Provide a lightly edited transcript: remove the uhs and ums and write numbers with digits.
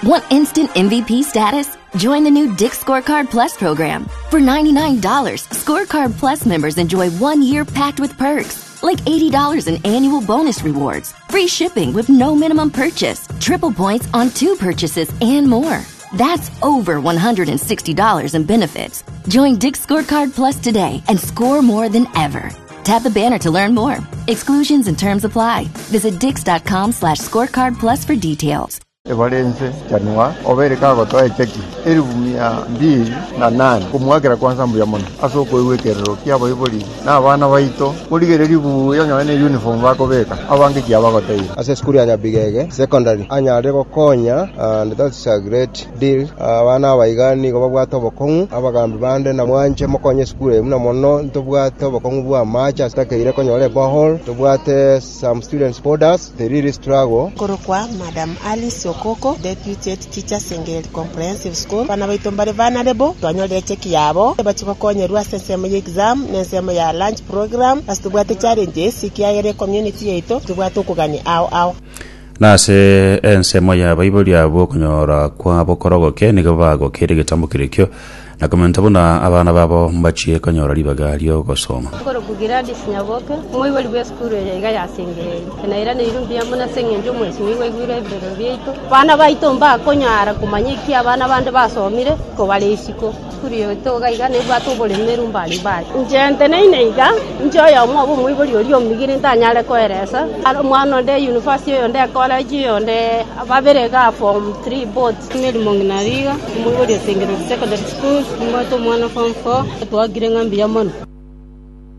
Want instant MVP status? Join the new Dick's Scorecard Plus program. For $99, Scorecard Plus members enjoy one year packed with perks, like $80 in annual bonus rewards, free shipping with no minimum purchase, triple points on two purchases, and more. That's over $160 in benefits. Join Dick's Scorecard Plus today and score more than ever. Tap the banner to learn more. Exclusions and terms apply. Visit dix.com slash scorecard plus for details. Ebare inse, chanwa, obeire kagotoa echeki elifu mia mbili na nane komoakera kwansa mbuya mono ase okoigwa ekerero ki'abaibori na abana baito. Morigererie buya onye ne uniform bakobeka, abange kiabagoteire. Ase esukuru ya Nyabigege Secondary anyarire gokonya and that's a great deal. Abana aba iga nigo babwate obokong'u, abagambi bande na mwanche mokonye esukuru eye buna mono ntobwate obokong'u bwa amache ase takeire konyora eborehole, ntobwate some students boarders, they really struggle. Nkorokwa Madam Alice Okoko, Deputy Head Teacher Sengereri Comprehensive School. Abana baito mbare vulnerable, twanyorire echeki yabo, bachie gokonyerwa ase ensemo ya exam na ensemo ya lunch program, ase tobwate challenges ekiagera ecommunity yaito tobwate okogania ao ao. Na ase ensemo y'abaibori abwo okonyora kwabo korogoke nigo bagokeire egetambo kerekio, na komenta buna abana babo mbachie konyora ribaga ri'ogosoma. Nkorokwa Gladys Nyaboke, omoibori bw'esukuru eye iga ya Sengereri. Nairaneirwe mbuya mono ase eng'encho omwesimigwa aigwire ebirero biaito. Abana baito mbakonyara komanya eki abana bande basomire kobare isiko. Esukuru yaito iga iga nebwate oboremeru mbari mbari. Inche nteneine iga, inche oyomo obe omoibori oria omigire ntanyare koeresa, omwana onde university oyonde ecollege oyonde babere igaa form three both. Mary Mong'ina Riga, omoibori o Sengereri Secondary School, nimbwate omwana form four, twakire ng'a mbuya mono.